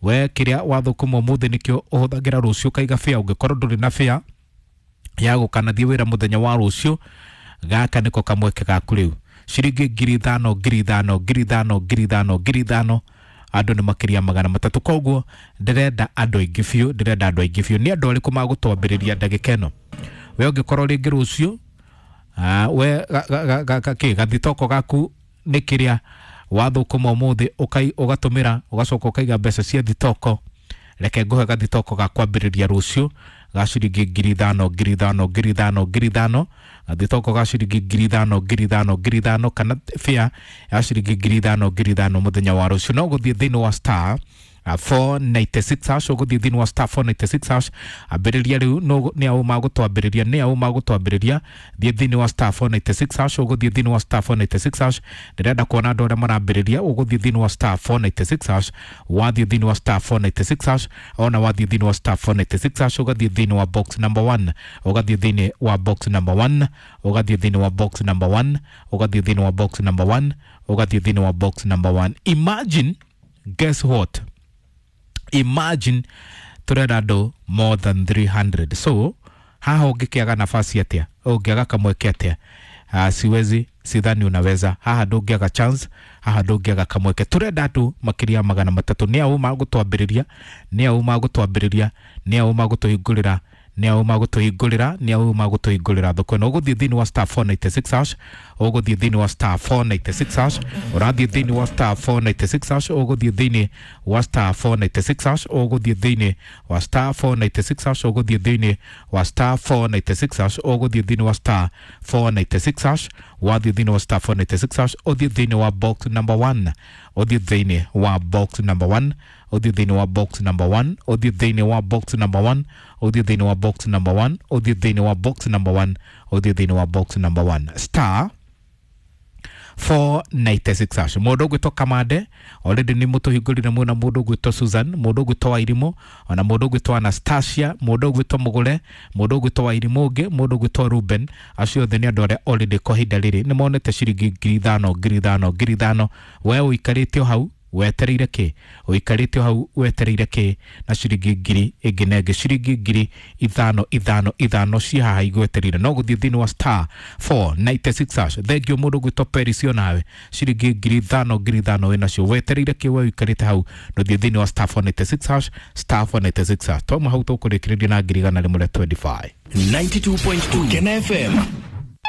We kiria wathukuma umuthi nikio uhuthagira rucio kaiga fare. Ungikorwo nduri na fare ya gukanathie wira muthenya wa rucio, gaka niko kamweke gaku riu. Ciringi 5,000 5,000 5,000 5,000 5,000, andũ nĩ makĩria 300. Koguo ndĩrenda andũ aingĩ biũ, ndĩrenda andũ aingĩ biũ. Nĩ andũ arĩkũ magũtwambĩrĩria ndagĩka ĩno? We ũngĩkorwo rĩngĩ rũciũ we kĩ gathitoko gaku nĩ kĩrĩa wathũkũma ũmũthĩ ũgatũmĩra, ũgacoka ũkaiga mbeca cia thitoko, reke ngũhe gathitoko ga kwambĩrĩria rũciũ ga ciringi 5,000 5,000 5,000 5,000, gathitoko ga ciringi 5,000 5,000 5,000, kana fare ya ciringi 5,000 5,000 mũthenya wa rũciũ. No gũthiĩ thĩinĩ wa star 496 hash, ũgũthiĩ thĩinĩ wa star 496 hash. Ambĩrĩria rĩu, nĩ aũ magũtwambĩrĩria, nĩ aũ magũtwambĩrĩria. Thiĩ thĩinĩ wa star 496 hash, ũgũthiĩ thĩinĩ wa star 496 hash. Ndĩrenda kuona andũ arĩa marambĩrĩria. Ũgũthiĩ thĩinĩ wa star 496 hash. Wathiĩ thĩinĩ wa star 496 hash, ona wathiĩ thĩinĩ wa star 496 hash, ũgathiĩ thĩinĩ wa box number 1, ũgathiĩ thĩinĩ wa box number 1, ũgathiĩ thĩinĩ wa box number 1, ũgathiĩ thĩinĩ wa box number 1, ũgathiĩ thĩinĩ wa box number 1. Imagine, guess what, imagine turenda andũ more than 300. So haha ũngĩkĩaga nafasi atĩa? Ũngĩaga kamweke atĩa? Siwezi, sidhani unaweza. Haha ndũngĩaga chance, haha ndũngĩaga kamweke. Turenda andũ makĩria 300. Nĩ aũ magũtwambĩrĩria? Nĩ aũ magũtwambĩrĩria? Nĩ aũ magũtũhingũrĩra? Nĩ aũ magũtũhingũrĩra? Nĩ aũ magũtũhingũrĩra thoko ĩno? Ũgũthiĩ thĩinĩ wa star 496 hash, ũgũthiĩ thĩinĩ wa star 496 hash, ũrathiĩ thĩinĩ wa star 496 hash, ũgũthiĩ thĩinĩ wa star 496 hash, ũgũthiĩ thĩinĩ wa star 496 hash, ũgũthiĩ thĩinĩ wa star 496 hash, ũgũthiĩ thĩinĩ wa star 496 hash. Wathiĩ thĩinĩ wa star 496 hash, ũthiĩ thĩinĩ wa box number 1, ũthiĩ thĩinĩ wa box number 1, ũthiĩ thĩinĩ wa box number 1, ũthiĩ thĩinĩ wa box number 1, ũthiĩ thĩinĩ wa box number 1, ũthiĩ thĩinĩ wa box number 1, ũthiĩ thĩinĩ wa box number 1, star 496 hash. Mũndũ ũgwĩtwo Kamande already nĩ mũtũhingũrire mwena, mũndũ ũgwĩtwo Susan, mũndũ ũgwĩtwo Wairimũ, ona mũndũ ũgwĩtwo Anastasia, mũndũ ũgwĩtwo Mũgũre, mũndũ ũgwĩtwo Wairimũ ũngĩ, mũndũ ũgwĩtwo Ruben. Acio othe nĩ andũ arĩa already kwa ihinda rĩrĩ nĩ monete ciringi 5,000 5,000 5,000. We ũikarĩte o hau wetereire kĩ? Ũikarĩte o hau wetereire kĩ? Na ciringi ngiri ĩngĩ na ĩngĩ, ciringi 5,000 5 5 ciĩ haha igwetereire. No gũthiĩ thĩinĩ wa star 496 hash. Thengio mũndũ ũgwĩtwo Peris, onawe ciringi 5,000 5,000 wĩnacio. Wetereire kĩ we ũikarĩte hau? Ndũthiĩ thĩinĩ wa star 496 hash, star 496 hash. Twauma hau tũkũrĩkĩrĩria na 125,000. 92.2 Kena FM.